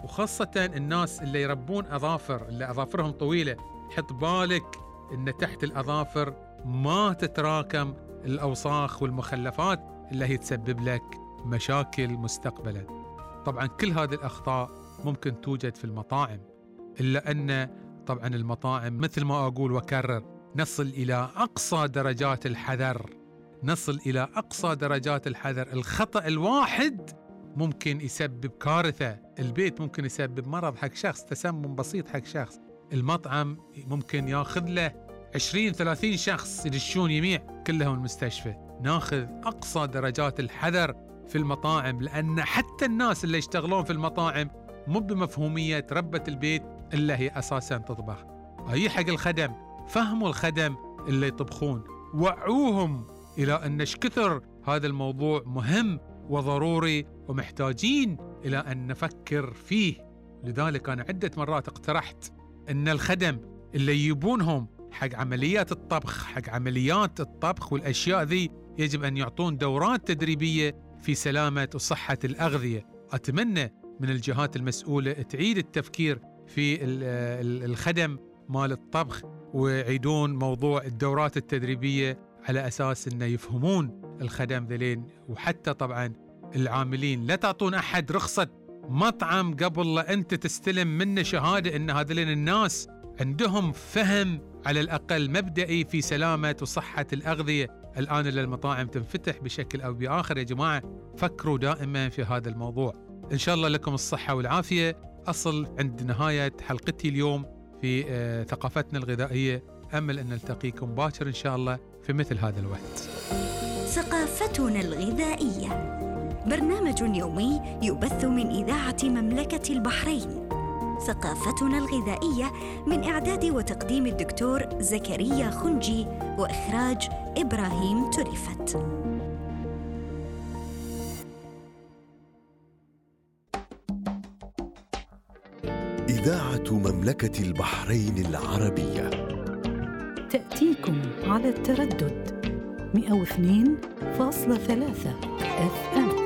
وخاصة الناس اللي يربون أظافر، اللي أظافرهم طويلة، حط بالك إن تحت الأظافر ما تتراكم الأوساخ والمخلفات اللي هي تسبب لك مشاكل مستقبلا. طبعا كل هذه الأخطاء ممكن توجد في المطاعم، إلا أن طبعا المطاعم مثل ما أقول وكرر نصل إلى أقصى درجات الحذر، نصل إلى أقصى درجات الحذر. الخطأ الواحد ممكن يسبب كارثة. البيت ممكن يسبب مرض حق شخص، تسمم بسيط حق شخص. المطعم ممكن ياخذ له 20-30 شخص يدشون يميع كلهم المستشفى. ناخذ أقصى درجات الحذر في المطاعم، لأن حتى الناس اللي يشتغلون في المطاعم مو بمفهومية ربة البيت إلا هي أساساً تطبخ. أي حق الخدم، فهموا الخدم اللي يطبخون، وعوهم إلى أن كثر هذا الموضوع مهم وضروري ومحتاجين إلى أن نفكر فيه. لذلك أنا عدة مرات اقترحت أن الخدم اللي يجيبونهم حق عمليات الطبخ، حق عمليات الطبخ والأشياء ذي، يجب أن يعطون دورات تدريبية في سلامة وصحة الأغذية. أتمنى من الجهات المسؤولة تعيد التفكير في الخدم مال الطبخ، ويعيدون موضوع الدورات التدريبية على أساس أنه يفهمون الخدم ذلين. وحتى طبعا العاملين، لا تعطون أحد رخصة مطعم قبل لا أنت تستلم منه شهادة أن هذين الناس عندهم فهم على الأقل مبدئي في سلامة وصحة الأغذية. الآن المطاعم تنفتح بشكل أو بآخر. يا جماعة فكروا دائما في هذا الموضوع. إن شاء الله لكم الصحة والعافية. أصل عند نهاية حلقتي اليوم في ثقافتنا الغذائية. أمل أن نلتقيكم باكر إن شاء الله في مثل هذا الوقت. ثقافتنا الغذائية، برنامج يومي يبث من إذاعة مملكة البحرين. ثقافتنا الغذائية من إعداد وتقديم الدكتور زكريا خنجي، وإخراج إبراهيم تريفت. إذاعة مملكة البحرين العربية تأتيكم على التردد 102.3 FM.